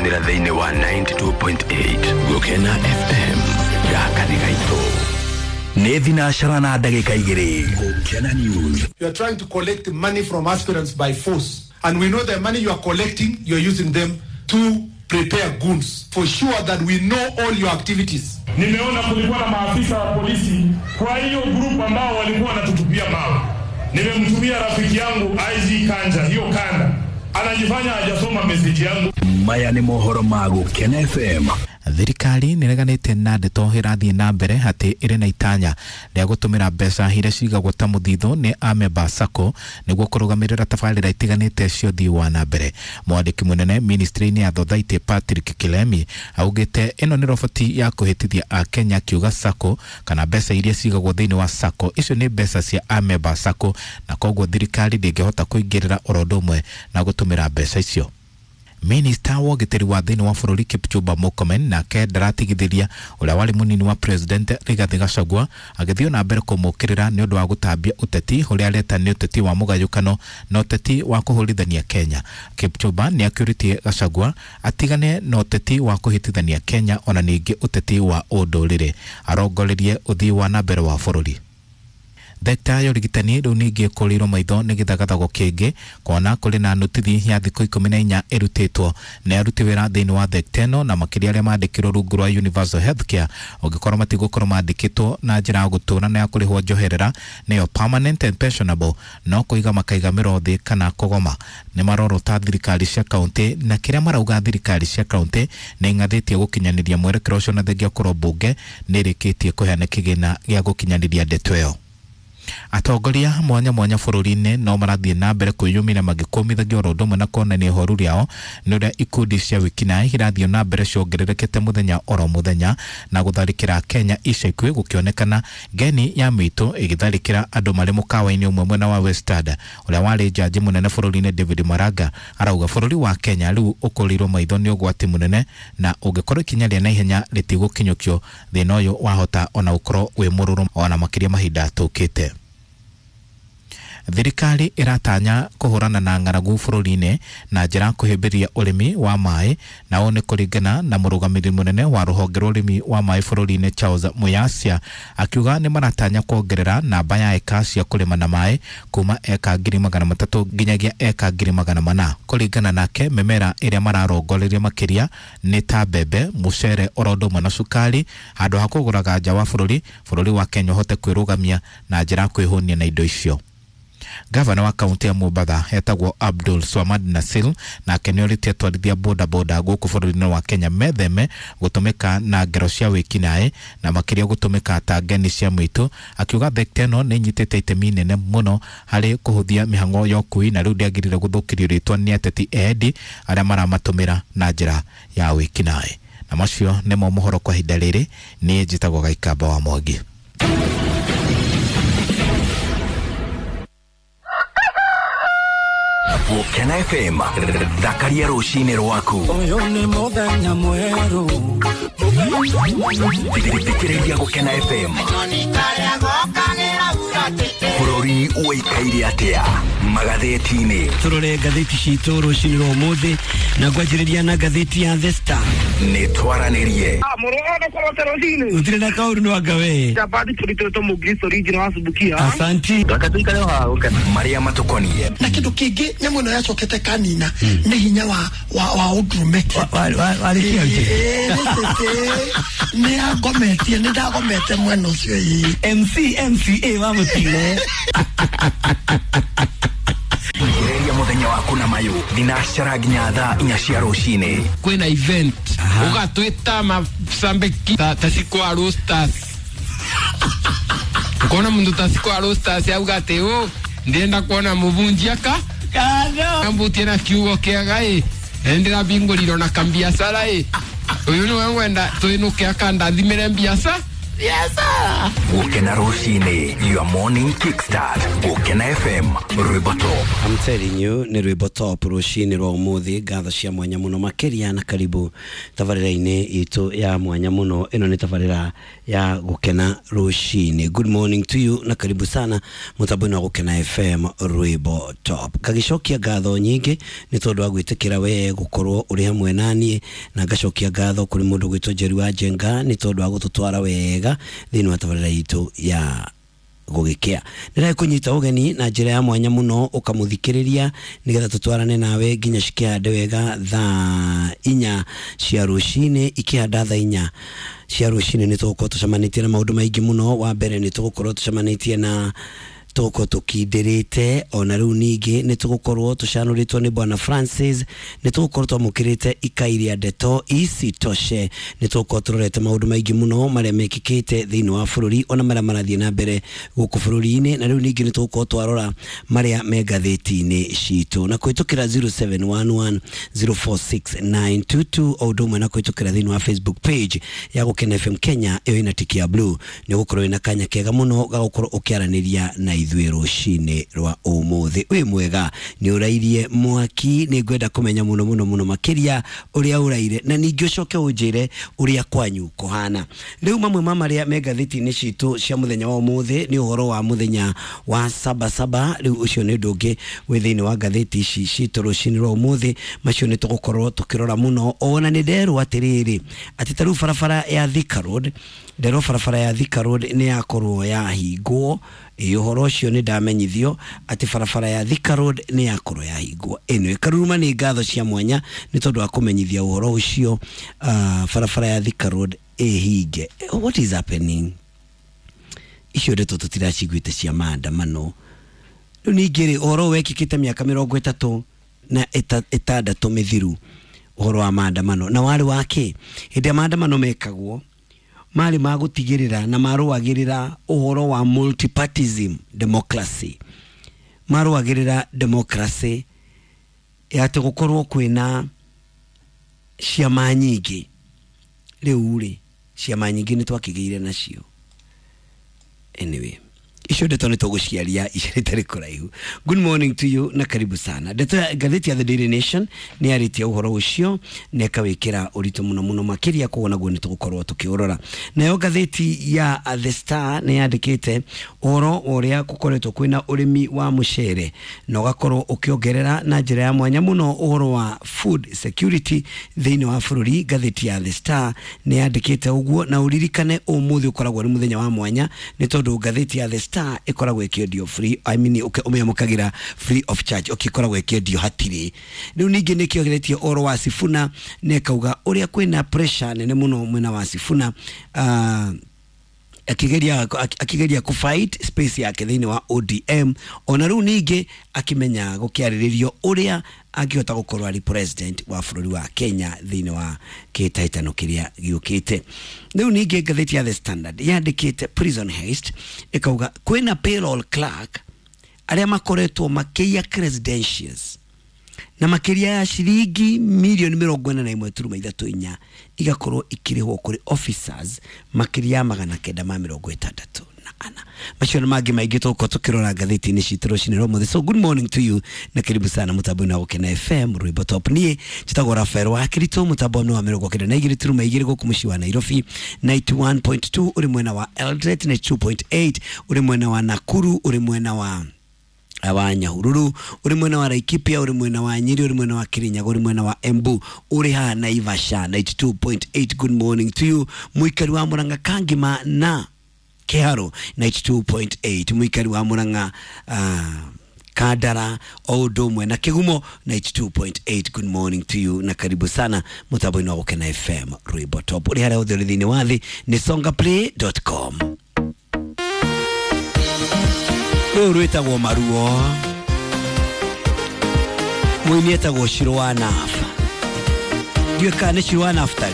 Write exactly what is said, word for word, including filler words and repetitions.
Tũkũnyitanĩra thĩinĩ wa ninety-two point eight Gũkena F M gaka nĩ gaitũ. Nĩ thinacara na ndagĩka igĩrĩ. Gũkena News. You are trying to collect money from aspirants by force, and we know the money you are collecting, you are using them to prepare goons for sure that we know all your activities. Nimeona kulikuwa na maafisa wa polisi kwa hiyo group ambao walikuwa wanatutupia mawe. Nimemtumia rafiki yangu I G Kanja hiyo kanda. Anajifanya hajasoma message yangu. Maya ni mohoro ma Gũkena F M. Thirikari nĩreganĩte na ndeto ĩrathiĩ na mbere atĩ ĩrĩ na itanya rĩa gũtũmĩra mbeca iria cigagwo ta mũthithũ nĩ amemba SACCO nĩguo kũrũgamĩrĩra tabarĩra itiganĩte cia ũthii wa na mbere. Mwandĩki mũnene ministry-inĩ ya Thothaitĩ Patrick Kilemi augĩte ĩno nĩ roboti ya kũhĩtithia Akenya akiuga SACCO kana mbeca iria cigagwo thĩinĩ wa SACCO icio nĩ mbeca cia amemba SACCO na koguo thirikari ndĩngĩhota kũingĩrĩra oro ũndũ ũmwe na gũtũmĩra mbeca icio. Minister wa ũgitĩri wa thĩinĩ wa bũrũri Kipchumba Murkomen nake ndaratigithĩria ũrĩa warĩ mũnini wa President Rigathi Gachagua agĩthiĩ na mbere kũmũkĩrĩra nĩ ũndũ wa gũtambia ũteti ũrĩa areta nĩ ũteti wa mũgayũkano na ũteti wa kũhũrithania Kenya. Kipchumba nĩ akĩũrĩtie Gachagua atigane na ũteti wa kũhĩtithania Kenya ona ningĩ ũteti wa ũndũrĩrĩ arongorerie ũthii wa na mbere wa bũrũri. Thekta ya ũrigitani rĩu ningĩ ĩkũrĩirwo maitho nĩ gĩthagathago kĩngĩ kuona kũrĩ na notithi ya thikũ ikũmi na inya ĩrutĩtwo nĩ aruti wĩra thĩinĩ wa thekta ĩno na makĩria arĩa mandĩkirwo rungu rwa Universal Healthcare ũngĩkorwo matigũkorwo mandĩkĩtwo na njĩra ya gũtũra na ya kũrĩhwo njoherera nĩyo permanent and pensionable no kũiga makaiga mĩro thĩ kana kũgoma. Nĩ marorota thirikari cia kaunti na kĩrĩa marauga thirikari cia kaunti nĩ ing'athĩtie gũkinyanĩria mwerekera ũcio na thengia kũrwo mbunge nĩ ĩrĩkĩtie kũheana kĩgĩna gĩa gũkinyanĩria ndeto ĩyo. Atongoria mwanya mwanya bũrũri-inĩ no marathiĩ na mbere kwĩyumĩria magĩkũmithagia oro ũndũ ũmwe na kuonania ihoru rĩao nĩ ũrĩa ikundi cia wĩkinaĩ irathiĩ na mbere ciongererekete mũthenya oro mũthenya na gũtharĩkĩra Kenya ica ikuhĩ gũkĩonekana ngeni ya mĩitũ ĩgĩtharĩkĩra andũ marĩ mũkawa-inĩ ũmwe mwena wa Westard. Ũrĩa warĩ jaji mũnene bũrũri-inĩ David Maraga arauga bũrũri wa Kenya rĩu ũkũrĩirwo maitho nĩ ũgwati mũnene na ũngĩkorwo ikinya rĩa naihenya rĩtigũkinyũkio thĩna ũyũ wahota ona gũkorwo wĩ mũrũrũ ona makĩria mahinda tũkĩte. Thirikari ĩratanya kũhũrana na ng'aragu bũrũri-inĩ na njĩra ya kũhĩmbĩria ũrĩmi wa maĩ na ũũ nĩ kũringana na mũrũgamĩrĩri mũnene wa rũhonge rwa ũrĩmi wa maĩ bũrũri-inĩ Charles Muyasia akiuga nĩ maratanya kuongerera namba ya eka cia kũrĩma na maĩ kuma eka ngiri magana matatũ nginyagia eka ngiri magana mana. Kũringana nake mĩmera ĩrĩa mararongoreria makĩria nĩ ta mbembe, mũcere oro ũndũ ũmwe na cukari handũ ha kũgũraga nja wa bũrũri bũrũri wa Kenya ũhote kwĩrũgamia na njĩra ya kwĩhũnia na indo icio. Gavana wa kaunti ya Mombatha etagwo Abdul Swamad Nasil nake nĩorĩtie atwarithia boda boda gũkũ bũrũri-inĩ wa Kenya metheme gũtũmĩka na ngero cia wĩkinaĩ na makĩria gũtũmĩka ta ngeni cia mũitũ akiuga thekta ĩno nĩ ĩnyitĩte itemi inene mũno harĩ kũhũthia mĩhang'o ya ũkui na rĩu ndĩagĩrĩire gũthũkĩrio rĩtwa nĩ ateti endi arĩa maramatũmĩra na njĩra ya wĩkinaĩ. Na macio nĩmo mohoro kwa ihinda rĩrĩ. Niĩ njĩtagwo Gaikamba wa Mwangi. Gũkena F M thakaria rũcinĩ rwaku. Ũyũ nĩ mũthenya mwerũ. Thikĩrĩria Gũkena F M. Bũrũri ũikaire atĩa magathĩti-inĩ. Tũrore ngathĩti citũ rũcinĩ rwa ũmũthĩ na ngwanjĩrĩria na ngathĩti ya The Star. Nĩ twaranĩrie. Gũtirĩ na kaũndũ no anga we. Asanti. Marĩa matũkoniĩ. Na kĩndũ kĩngĩ nyamũ ĩno yacokete kanina nĩ hinya wa wa wa ũndũrũme. Nĩ agometie nĩ ndagomete mwena ũcio ĩ. M C M C A wa mũtino. Thikĩrĩria mũthenya waku na mayũ thinacara nginya thaa inya cia rũcinĩ. Kwĩna event ũgatwĩta macambĩki ta cikwa roasters ukona mundu ta cikwa roasters auga atĩ ũ ndĩrenda kuona mũbunjia ka ambutie na kiugo kĩega ĩ ndĩrabingũrirwo na kambiacara ĩ ũyũ nĩwe ngwenda twĩnũke akandathimĩre mbiaca Biacara. Gukena rucini, your morning kickstart. Gukena F M, rwimbo top. I'm telling you, nĩ rwĩmbo top rũcinĩ rwa ũmũthĩ. Ngatho cia mwanya mũno makĩria na karibu tabarĩra-inĩ itũ ya mwanya mũno. Ĩno nĩ tabarĩra ya gũkena rũcinĩ. Good morning to you na karibu sana mũtambo-inĩ wa Gũkena F M rwĩmbo top. Ngagĩcokia ngatho nyingĩ nĩ tondũ wa gwĩtĩkĩra we gũkorwo ũrĩ hamwe na niĩ, na ngacokia ngatho kũrĩ mũndũ gwĩtwo Njeri wa Njenga nĩ tondũ wa gũtũtwara wega thĩinĩ wa tabarĩra itũ ya gũgĩkĩa. Nĩndagĩ kũnyita ũgeni na njĩra ya mwanya mũno ũkamũthikĩrĩria nĩgetha tũtwarane nawe nginya cikĩhande wega thaa inya cia rũcinĩ. Ikĩhanda thaa inya cia rũcinĩ nĩ tũgũkorwo tũcemanĩtie na maũndũ maingĩ mũno. Wa mbere nĩ tũgũkorwo tũcemanĩtie na tũgũkorwo tũkindĩrĩte, ona rĩu ningĩ nĩ tũgũkorwo tũcanũrĩtwo nĩ Bwana Francis, nĩ tũgũkorwo twamũkĩrĩte ikai rĩa ndeto isitoshe, nĩ tũgũkorwo tũrorete maũndũ maingĩ mũno marĩa mekĩkĩte thĩinĩ wa bũrũri ona marĩa marathiĩ na mbere gũkũ bũrũri-inĩ, na rĩu ningĩ nĩ tũgũkorwo twarora marĩa me ngathĩti-inĩ citũ na kũhĩtũkĩra zero seven one one zero four six nine two two o ũndũ ũmwe na kũhĩtũkĩra thĩinĩ wa Facebook page ya Gũkena F M Kenya ĩyo ĩna tiki ya blue. Nĩ ũgũkorwo wĩna kanya kega mũno ga gũkorwo ũkĩaranĩria na ithuĩ rũcinĩ rwa ũmũthĩ. Wĩ mwega, nĩ ũrairie mwaki, nĩ ngwenda kũmenya mũno mũno mũno makĩria ũrĩa ũraire, na ningĩ ũcoke ũnjĩre ũrĩa kwanyu kũhana. Rĩu mamwe ma marĩa me ngathĩti-inĩ citũ cia mũthenya wa ũmũthĩ nĩ ũhoro wa mũthenya wa saba saba. Rĩu ũcio nĩ ũndũ ũngĩ wĩ thĩinĩ wa ngathĩti ici citũ rũcinĩ rwa ũmũthĩ, macio nĩ tũgũkorwo tũkĩrora mũno. Ona nĩ nderwo atĩrĩrĩ atĩ ta rĩu barabara ya Thika Road, nderwo barabara ya Thika Road nĩ yakorwo yahingwo. Ĩ ũhoro ũcio nĩ ndamenyithio atĩ barabara ya Thika Road nĩ yakorwo yahingwo. Ĩno ĩkaruruma nĩ ngatho cia mwanya nĩ tondũ wa kũmenyithia ũhoro ũcio. Uh, barabara ya Thika Road ĩhinge. What is happening? Icio ndeto tũtiraciguĩte cia maandamano. Rĩu ningĩ rĩ, ũhoro wekĩkĩte mĩaka mĩrongo ĩtatũ na ĩtandatũ mĩthiru, ũhoro wa maandamano na warĩ wa kĩ? Hĩndĩ ya maandamano mekagwo marĩ ma gũtigĩrĩra na marũagĩrĩra ũhoro wa multipartism democracy, marũagĩrĩra democracy ya atĩ gũkorwo kwĩna ciama nyingĩ. Rĩu rĩ, ciama nyingĩ nĩ twakĩgĩire nacio. Anyway, icio ndeto nĩ tũgũciaria itarĩ kũraihu. Good morning to you na karibu sana. Ndeto ya ngathĩti ya The Daily Nation nĩ yarĩtie ũhoro ũcio na ĩkawĩkĩra ũritũ mũno mũno makĩria, koguo naguo nĩ tũgũkorwo tũkĩũrora. Nayo ngathĩti ya The Star nĩ yandĩkĩte ũhoro wa ũrĩa gũkoretwo kwĩna ũrĩmi wa mũcere na ũgakorwo ũkĩongerera na njĩra ya mwanya mũno ũhoro wa food security thĩinĩ wa bũrũri. Ngathĩti ya The Star nĩ yandĩkĩte ũguo, na ũririkane ũmũthĩ ũkoragwo nĩ mũthenya wa mwanya nĩ tondũ ngathĩti ya The Star ĩkoragwo ĩkĩendio free, I mean ũmĩamũkagĩra free of charge, ũkĩkoragwo ĩkĩendio hatirĩ. Rĩu ningĩ nĩ kĩogeretie ũhoro wa Sifuna na ĩkauga ũrĩa kwĩna pressure nene mũno mwena wa Sifuna, uh, akigeria akigeria ku fight space yake thĩinĩ wa O D M, ona rĩu ningĩ akimenya gũkĩarĩrĩrio ũrĩa angĩhota gũkorwo arĩ president wa bũrũri wa Kenya thĩinĩ wa kĩhĩtahĩtano kĩrĩa gĩũkĩte. Rĩu ningĩ ngathĩti ya The Standard yandĩkĩte prison heist, ĩkauga kwĩna payroll clerk arĩa makoretwo makĩiya credentials na makĩria ya ciringi milioni mĩrongo ĩna na ĩmwe turuma ithatũ inya igakorwo ikĩrĩhwo kũrĩ officers makĩria ya magana kenda ma mĩrongo ĩtandatũ na ana. Macio na mangĩ maingĩ tũgũkorwo tũkĩrora ngathĩti-inĩ citũ rũcinĩ rwa ũmũthĩ. So good morning to you na karibu sana mũtambo-inĩ wa Gũkena F M rwĩmbo top. Niĩ njĩtagwo Rafael wa Kirito, mũtambo-inĩ wa mĩrongo kenda na igĩrĩ turuma igĩrĩ gũkũ mũciĩ wa Nairobi, ninety one point two ũrĩ mwena wa Eldoret, ninety two point eight ũrĩ mwena wa Nakuru, ũrĩ mwena wa wa Nyahururu, ũrĩ mwena wa Laikipia, ũrĩ mwena wa Nyeri, ũrĩ mwena wa Kirinyaga, ũrĩ mwena wa Embu, ũrĩ haha Naivasha ninety two point eight. Good morning to you mũikari wa Murang'a Kangima na Kiharo ninety two point eight, mũikari wa Murang'a uh, Kandara o ũndũ ũmwe na Kĩgumo ninety two point eight. Good morning to you na karibu sana mũtambo-inĩ wa Gũkena F M rwĩmbo top. Ũrĩ harĩa hothe ũrĩ thĩinĩ wa thĩ nĩ songaplay dot com. Rũrũ rwĩtagwo Maruo, mũini etagwo Shiro wa Nafa. Ndiũĩ kana nĩ Shiro wa Naftali.